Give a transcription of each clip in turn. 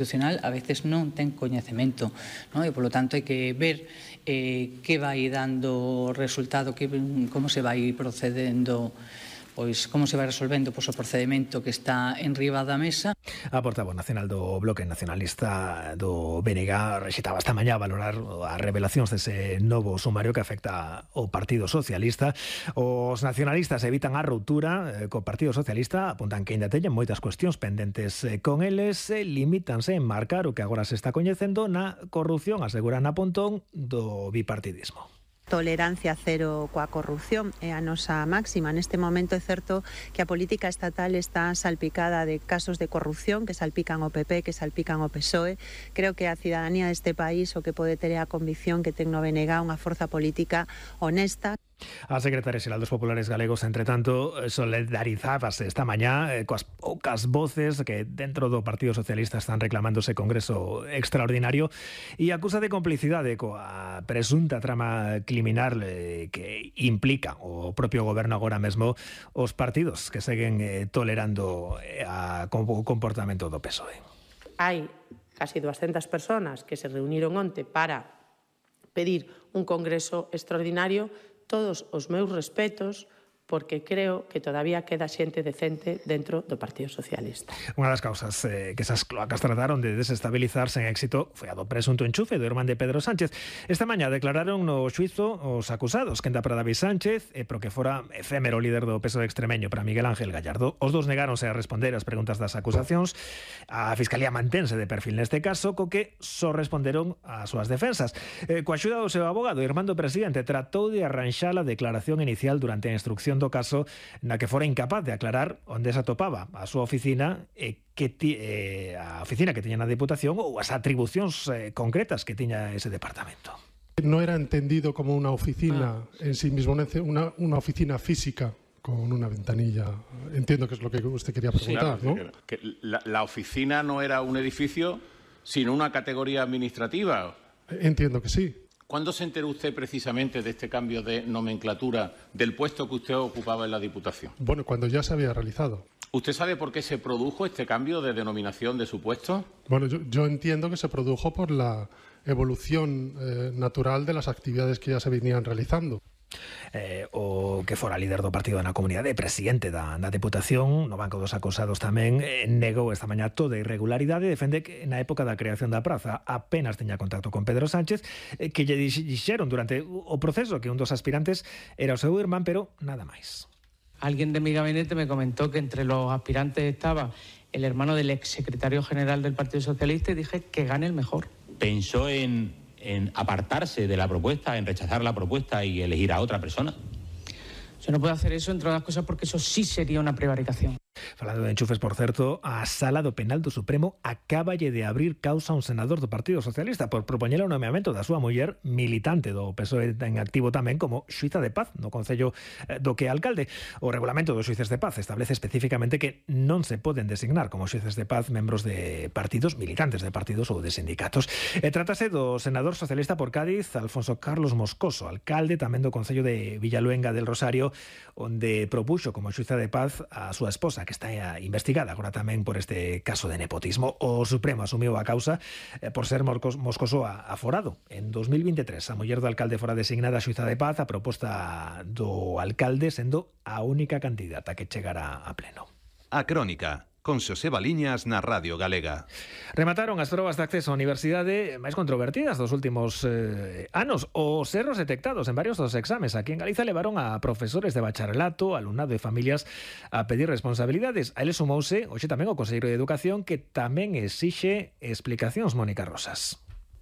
Constitucional a veces non ten coñecemento, non? E polo tanto hai que ver que vai dando resultado, como se vai procedendo, pois como se vai resolvendo o procedimento que está en riba da mesa. A portavoz nacional do Bloque Nacionalista do BNG rexitaba esta mañá valorar as revelacións dese novo sumario que afecta ao Partido Socialista. Os nacionalistas evitan a ruptura co Partido Socialista, apuntan que ainda teñen moitas cuestións pendentes con eles, limítanse en marcar o que agora se está coñecendo na corrupción, aseguran a Pontón, do bipartidismo. Tolerancia cero coa corrupción é a nosa máxima. Neste momento é certo que a política estatal está salpicada de casos de corrupción que salpican o PP, que salpican o PSOE. Creo que a cidadanía deste país o que pode ter a convicción que ten no BNG unha forza política honesta. A secretaria xeral dos Populares Galegos, entre tanto, solidarizábase esta mañá coas poucas voces que dentro do Partido Socialista están reclamando ese congreso extraordinario e acusa de complicidade coa presunta trama criminal que implica o propio goberno agora mesmo os partidos que seguen tolerando o comportamento do PSOE. Hai casi 200 personas que se reuniron onte para pedir un congreso extraordinario. Todos os meus respetos, porque creo que todavía queda xente decente dentro do Partido Socialista. Unha das causas que esas cloacas trataron de desestabilizar sen éxito foi a do presunto enchufe do irmán de Pedro Sánchez. Esta mañá declararon no xuizo os acusados, Quenda Pradaví Sánchez e pro que fora efémero líder do PSOE extremeño para Miguel Ángel Gallardo. Os dous negáronse a responder as preguntas das acusacións. A Fiscalía mantense de perfil neste caso, co que só responderon as súas defensas. Coa axuda do seu abogado, Irmán do Presidente tratou de arranxar a declaración inicial durante a instrucción do caso na que fora incapaz de aclarar onde se atopaba a súa oficina e a oficina que tiña na Deputación ou as atribucións concretas que tiña ese departamento. No era entendido como una oficina en sí mismo, una oficina física con una ventanilla. Entiendo que es lo que usted quería preguntar, sí, claro, ¿no? Que la oficina no era un edificio, sino una categoría administrativa. Entiendo que sí. ¿Cuándo se enteró usted precisamente de este cambio de nomenclatura del puesto que usted ocupaba en la Diputación? Bueno, cuando ya se había realizado. ¿Usted sabe por qué se produjo este cambio de denominación de su puesto? Bueno, yo entiendo que se produjo por la evolución natural de las actividades que ya se venían realizando. O que fora líder do partido na comunidade, presidente da Deputación, no banco dos acusados tamén, negou esta mañá toda irregularidade e defende que na época da creación da praza apenas teña contacto con Pedro Sánchez, que lle dixeron durante o proceso que un dos aspirantes era o seu irmán, pero nada máis. Alguien de mi gabinete me comentó que entre los aspirantes estaba el hermano del exsecretario general del Partido Socialista y dije que gane el mejor. Pensó en apartarse de la propuesta, en rechazar la propuesta y elegir a otra persona. Yo no puedo hacer eso, entre otras cosas, porque eso sí sería una prevaricación. Falando de enchufes, por certo, a Sala do Penal do Supremo acaballe de abrir causa a un senador do Partido Socialista por propoñer o nomeamento da súa muller militante do PSOE en activo tamén como xuíza de paz no Concello do que é alcalde. O regulamento dos xuíces de paz establece especificamente que non se poden designar como xuíces de paz membros de partidos, militantes de partidos ou de sindicatos. Trátase do senador socialista por Cádiz, Alfonso Carlos Moscoso, alcalde tamén do Concello de Villaluenga del Rosario, onde propuxo como xuíza de paz a súa esposa, que está investigada agora tamén por este caso de nepotismo. O Supremo asumiu a causa por ser Moscoso aforado. En 2023, a muller do alcalde fora designada a xuíza de paz, a proposta do alcalde sendo a única candidata que chegara a pleno. A Crónica, con Xoseba Liñas na Radio Galega. Remataron as probas de acceso á universidade máis controvertidas dos últimos anos. Os erros detectados en varios dos exames aquí en Galiza levaron a profesores de bacharelato, alumnado e familias a pedir responsabilidades. A eles sumouse hoxe tamén o Conselleiro de Educación, que tamén exixe explicacións. Mónica Rosas.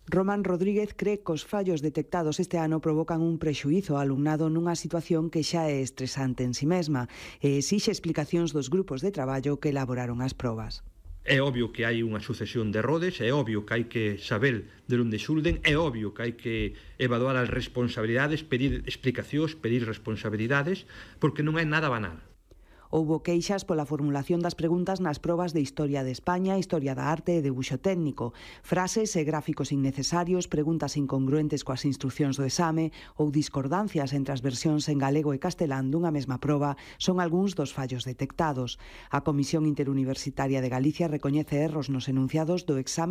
Román Rodríguez cree que os fallos detectados este ano provocan un prexuízo ao alumnado nunha situación que xa é estresante en si mesma e exixe explicacións dos grupos de traballo que elaboraron as probas. É obvio que hai unha sucesión de errores, é obvio que hai que saber de onde xurden, é obvio que hai que evaluar as responsabilidades, pedir explicacións, pedir responsabilidades, porque non é nada banal. Houbo queixas pola formulación das preguntas nas probas de Historia de España, Historia da Arte e Debuxo Técnico, frases e gráficos innecesarios, preguntas incongruentes coas instruccións do exame ou discordancias entre as versións en galego e castelán dunha mesma proba son algúns dos fallos detectados. A Comisión Interuniversitaria de Galicia recoñece erros nos enunciados do exame